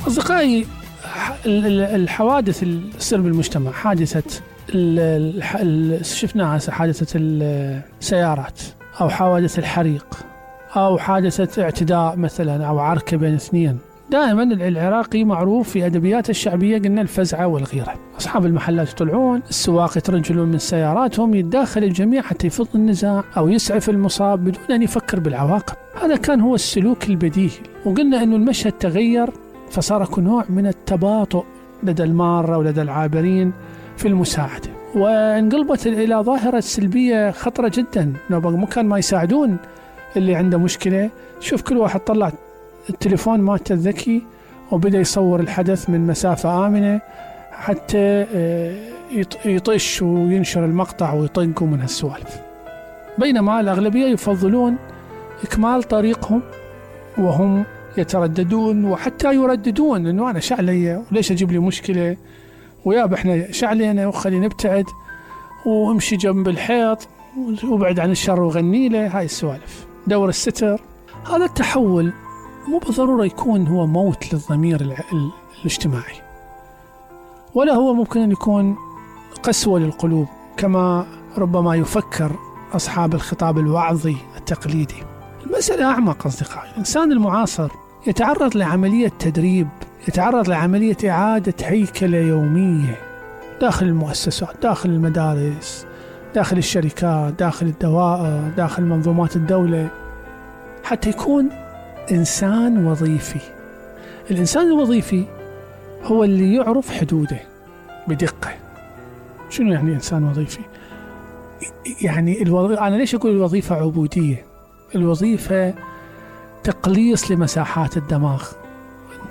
أصدقائي، الحوادث اللي تصير بالمجتمع، حادثة شفناها حادثة السيارات، أو حوادث الحريق، أو حادثة اعتداء مثلا، أو عركة بين اثنين. دائما العراقي معروف في أدبيات الشعبية قلنا الفزعة والغيرة. أصحاب المحلات يطلعون، السواق يترجلون من سياراتهم، يتداخل الجميع حتى يفض النزاع أو يسعف المصاب بدون أن يفكر بالعواقب. هذا كان هو السلوك البديهي. وقلنا أن المشهد تغير، فصار نوع من التباطؤ لدى المارة ولدى العابرين في المساعدة، وانقلبت إلى ظاهرة سلبية خطرة جدا. مكان ما يساعدون اللي عنده مشكلة، شوف كل واحد طلع التليفون مالته الذكي وبدأ يصور الحدث من مسافة آمنة حتى يطش وينشر المقطع ويطقوا من هالسوالف. بينما الأغلبية يفضلون إكمال طريقهم وهم يترددون وحتى يرددون إنه أنا شعلية وليش أجيب لي مشكلة، وياب إحنا شعلينا وخلي نبتعد وامشي جنب الحيط وابعد عن الشر وغني له. هاي السوالف دور الستر. هذا التحول مو بالضرورة يكون هو موت للضمير الاجتماعي، ولا هو ممكن أن يكون قسوة للقلوب كما ربما يفكر أصحاب الخطاب الوعظي التقليدي. المسألة أعمق أصدقائي. الإنسان المعاصر يتعرض لعملية تدريب، يتعرض لعملية إعادة هيكلة يومية داخل المؤسسات، داخل المدارس، داخل الشركات، داخل الدوائر، داخل منظومات الدولة، حتى يكون إنسان وظيفي. الإنسان الوظيفي هو اللي يعرف حدوده بدقة. شنو يعني إنسان وظيفي؟ يعني أنا ليش أقول الوظيفة عبودية؟ الوظيفة تقليص لمساحات الدماغ.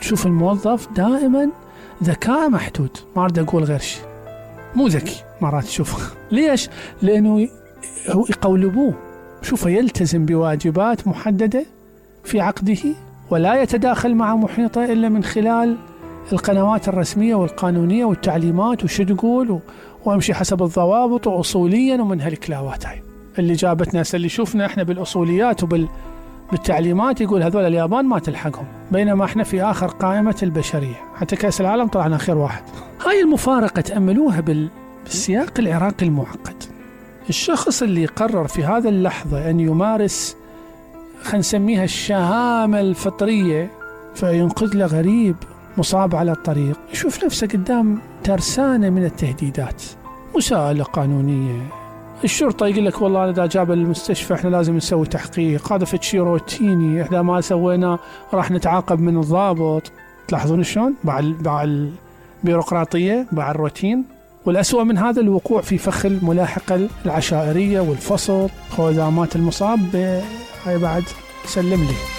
تشوف الموظف دائما ذكاء محدود، ما أريد أقول غير شيء، مو ذكي مرات تشوفه. ليش؟ لأنه يقولبوه، شوفه يلتزم بواجبات محددة في عقده، ولا يتداخل مع محيطه إلا من خلال القنوات الرسمية والقانونية والتعليمات وشو تقول، وامشي حسب الضوابط وأصوليا ومن هالكلاوات هاي اللي جابت ناس اللي شوفنا احنا بالأصوليات بالتعليمات يقول هذول اليابان ما تلحقهم، بينما احنا في آخر قائمة البشرية، حتى كأس العالم طلعنا آخر واحد. هاي المفارقة تأملوها بالسياق العراقي المعقد. الشخص اللي قرر في هذا اللحظة أن يمارس خلينا نسميها الشهامة الفطرية فينقذ له غريب مصاب على الطريق، يشوف نفسه قدام ترسانة من التهديدات، مساءلة قانونية، الشرطة يقول لك والله إذا جاب المستشفى إحنا لازم نسوي تحقيق، هذا فتشي روتيني إحنا ما سوينا راح نتعاقب من الضابط. تلاحظون شلون مع البيروقراطية مع الروتين. والأسوأ من هذا الوقوع في فخ الملاحقة العشائرية والفصل خوذامات المصاب. هاي بعد سلم لي.